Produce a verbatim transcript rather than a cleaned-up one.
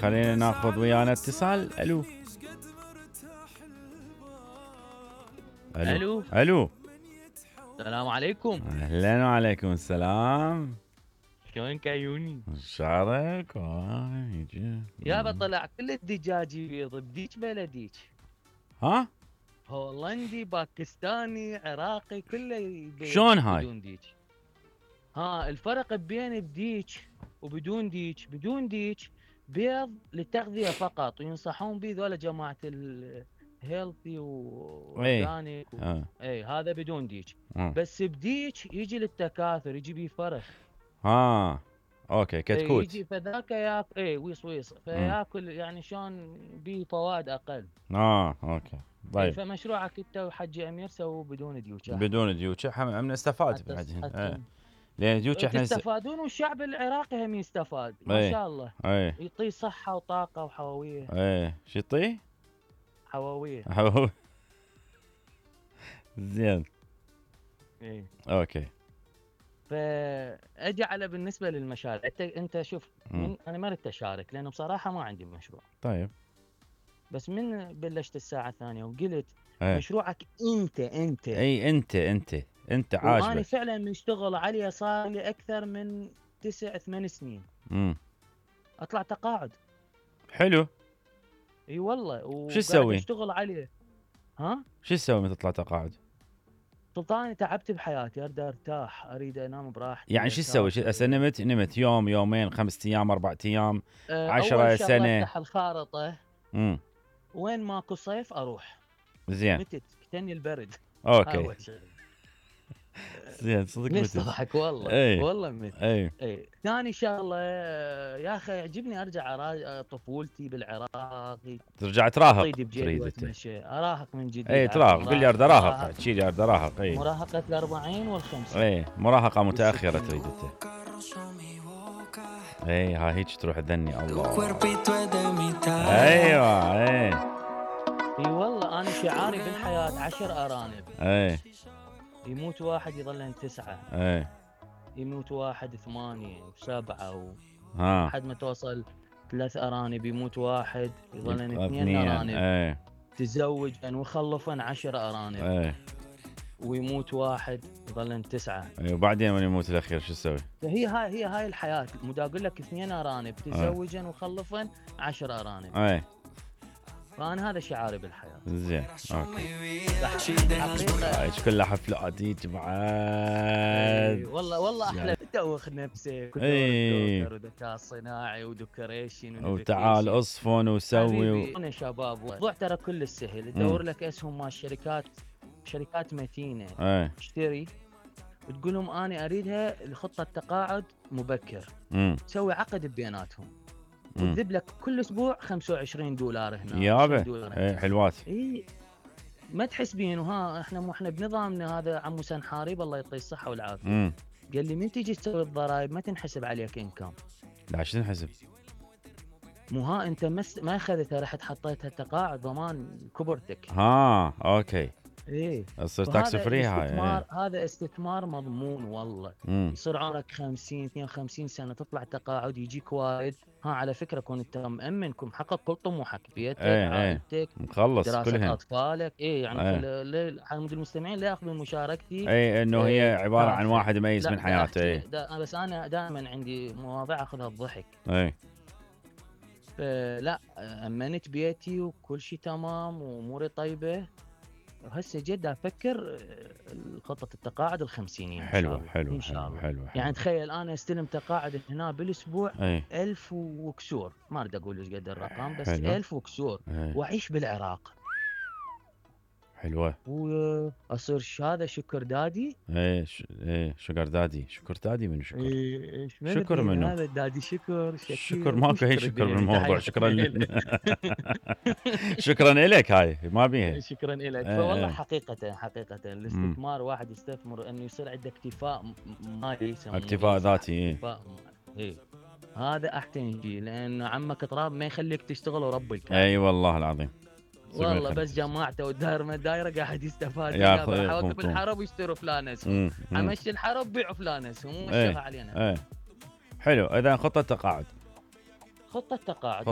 خلينا ناخذ ويانا اتصال. الو الو الو السلام عليكم. اهلا وعليكم السلام. شلونك عيوني؟ شعرك يابا طلع كل الدجاج يبيض بديك بلديك. ها؟ هولندي باكستاني عراقي كله يبيض. شلون هاي؟ بدون ديك. ها الفرق بين بديك وبدون ديك، بدون ديك بيض للتغذية فقط وينصحون به ذولا جماعة الهيلثي واورجانيك و... آه. اي هذا بدون ديك. آه. بس بديك يجي للتكاثر، يجي بيه فرخ. ها اوكي كتكوت. يجي فذاك ياكل اي ويص ويص فياكل يعني شلون بيه فوائد اقل. اه اوكي طيب. فمشروعك انت وحجي امير سووا بدون ديوكه. بدون ديوكه هم نستفاد بعدين. ايه. لان ديوكه احنا تستفادون والشعب العراقي هم يستفاد ما ايه. شاء الله. ايه. يعطيه صحه وطاقه وحيويه. ايه شو يعطيه؟ حيويه. حيويه. زين. ايه. اوكي. فاجي على بالنسبه للمشاريع، انت انت شوف من انا ما ردت اشارك لانه بصراحه ما عندي مشروع. طيب. بس من بلشت الساعه الثانية وقلت ايه. مشروعك انت انت اي انت انت انت عاجبك. وانا فعلا مشتغل عليه صار لي اكثر من تسع ثمان سنين. امم اطلع تقاعد. حلو. اي والله. شو تسوي؟ اشتغل عليه. ها؟ شو تسوي من تطلع تقاعد؟ سلطاني تعبت بحياتي، اريد ارتاح، اريد انام براحتي. يعني شو تسوي؟ هسه نمت نمت يوم يومين خمسة ايام اربع ايام أه عشرة سنه. افتح الخارطه. امم وين ماكو صيف اروح. زين. متت كتني البرد. اوكي. زين صدق متت. نضحك والله. ايه. والله متت. ايه. ايه ثاني شغله يا اخي يعجبني ارجع طفولتي بالعراق. ترجع تراهق. تريد اتمشى اراهق من جديد. اي تراهق. قل لي اريد اراهق. تشيل اريد اراهق. اي مراهقه الأربعين والخمسين. اي مراهقه متاخره تريد انت. اي ها هيك تروح تذني الله. ايوه اي. اي والله انا شعاري بالحياه عشر ارانب. اي. يموت واحد يظلن تسعه. اي. يموت واحد ثمانيه وسبعه و... ها لحد ما توصل ثلاث ارانب. يموت واحد يظلن اثنين ارانب. اي. تزوجا وخلفا عشر ارانب. اي. ويموت واحد يظلن تسعه. اي وبعدين من يموت الاخير شو تسوي؟ فهي هاي هي هاي الحياه. مدا اقول لك اثنين ارانب تزوجا وخلفا عشر ارانب. اي. فانا هذا شعاري بالحياه. زين اوكي. حقيقه كلها حفلات هيك بعد. والله والله احلى تدوخ نفسك اي. وذكاء صناعي وديكوريشن وتعال اصفن وسوي و... انا شباب الموضوع ترى كل سهل. تدور لك اسهم مال الشركات، شركات متينه. اي. تشتري وتقول لهم انا اريدها لخطه تقاعد مبكر. امم تسوي عقد بيناتهم وتذب لك كل اسبوع خمسة وعشرين دولار هنا. يابا اي حلوات. اي ما تحس بين وها احنا مو احنا بنظامنا هذا. عمو سنحارب الله يعطيه الصحه والعافيه. امم قال لي من تيجي تسوي الضرائب ما تنحسب عليك انكم. لا شو تنحسب؟ مو ها انت مس... ما اخذتها رحت حطيتها تقاعد ضمان كبرتك. ها اوكي. ايه تصير تاكس فري هاي. ايه. هذا استثمار مضمون والله. مم. يصير عمرك خمسين اثنين وخمسين سنه تطلع تقاعد يجيك وارد. ها على فكره كون انت مأمن كون محقق كل طموحك بيتك ايه عائلتك ايه. مخلص دراسه كلهن. اطفالك. ايه يعني ايه. حمد المستمعين لا ياخذون مشاركتي. اي انه هي ايه عباره عن واحد يميز من حياته. ايه دا بس انا دائما عندي مواضيع اخذها بضحك. اي. لا امنت بيتي وكل شيء تمام واموري طيبه. وهسه جد افكر خطه التقاعد الخمسينيه. حلوه حلوه ان شاء الله. حلوه. يعني تخيل انا استلم تقاعد هنا بالاسبوع اي. ألف وكسور. ما اريد اقول ايش قد الرقم بس حلو. ألف وكسور. اي. واعيش بالعراق. حلوه. واصير هذا شكر دادي. ايه ش... ايه شكر دادي. شكر دادي من شكر. ايه شكر منه هذا دادي شكر. شكر ماكو هي شكر بالموضوع. شكرا شكرا لك. هاي ما بيها. شكرا لك. فوالله حقيقه حقيقه الاستثمار واحد يستثمر انه يصير عنده اكتفاء مالي. اكتفاء ذاتي. ايه. ايه هذا احسن شيء لان عمك تراب ما يخليك تشتغل ورب الكعبه. اي والله العظيم. والله بس جماعته والدائره ما دايره قاعد يستفاد. يا حواكب الحرب يشتروا فلان اسهم. امشي الحرب بيعوا فلان اسهم. مو مشيها علينا. ايه حلو. اذا خطه تقاعد. خطه تقاعد.